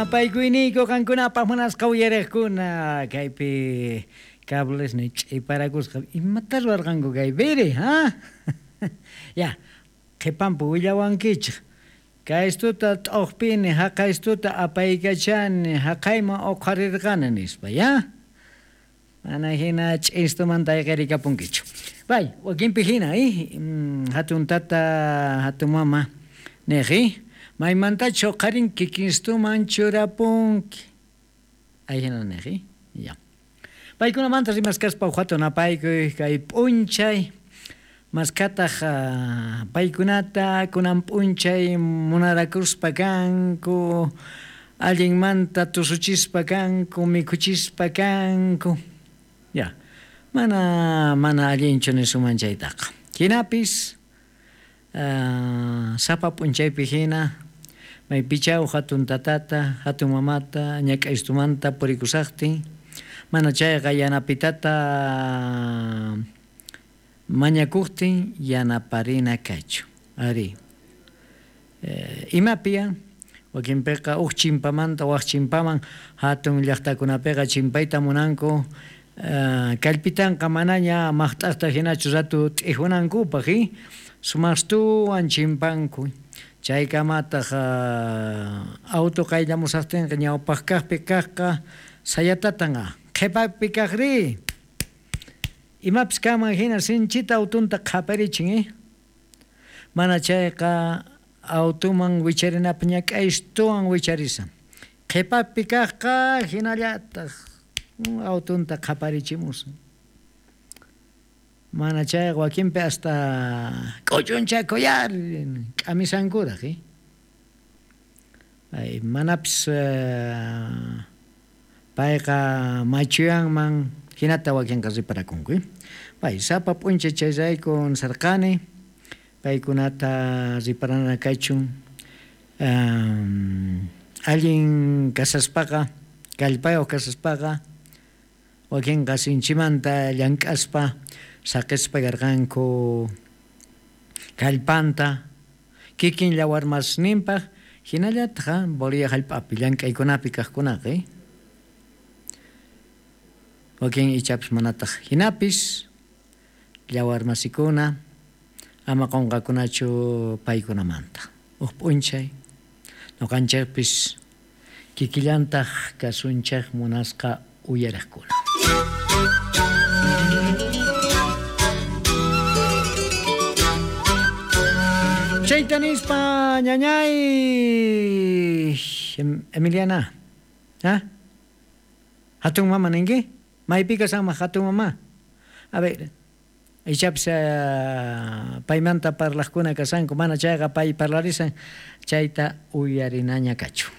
Napaykuyniyku qankunapaq munasqa uyariqkuna kaypi cablesniy ch'iparakusqa imata ruwarqanku kaypiri ha ya qhipanpi willawankichik kaystuta t'uqpini haqaystuta apaykachani haqayman uqharirqani nispa ya mana hina ch'istumanta ayqirikapunkichu pay wakinpi hina hatun tata hatun mama niq maymantachus uqharin kikinstuman churapunki ayhina niq ya paykunamanta rimaskaspa uj hatun napaykuy kay p'unchay maskhataq paykunata kunan p'unchay munarakuspa kanku allinmanta tusuchispa kanku mikhuchispa kanku ya mana mana allinchu nisunman chaytaqa jinapis sapa p'unchaypi hina maypichaw hatun tatata hatun mamata ñak'aystumanta purikusaqtin mana chayqa yanapitata mañakuqtin yanaparina kachu ari imapi wakinpiqa uj chimpamanta waj chimpaman hatun llaqtakunapiqa chimpayta munanku kallpitanqa manaña maqt'aqta hinachu ratu t'ijunankupaq sumaqstuwan chimpanku chaykamataq auto qayllamusaqtinqa ñawpaq kaqpi kaqqa sayatatan qhipapi kaqri imapis kanman hina sinchita autunta qhaparichin mana chayqa autuman wicharinapaq ñak'aystuwan wicharisan qhipapi kaqqa hinallataq autunta qhaparichimusan mana chayqa wakinpi hasta k'uchunchakuyar k'amisankuraq ay manapis payqa machuyanman hinata wakinqa riparakunku pay sapa p'unchay chayrayku nisarqani paykunata riparana kachun allin kasaspaqa kallpayuq kasaspaqa wakinqa sinchimanta llank'aspa saqispa karqanku kallpanta kikin llawarmasninpaq hinallataq Bolivia hallp'api llank'aykunapi kaqkunaqa wakin ichapis manataq hinapis llawarmasikuna ama qunqakunachu paykunamanta uj p'unchay nuqanchikpis kikillantaq kasunchik munasqa uyariqkuna. Chayta nispa ñañay Emiliana ¿ah? Hatun mama ninki maypi kashanman hatun mama a ver ichapis paymanta parlaqkuna kashanku mana chayqa pay parlarisan chayta uyarinaña kachu.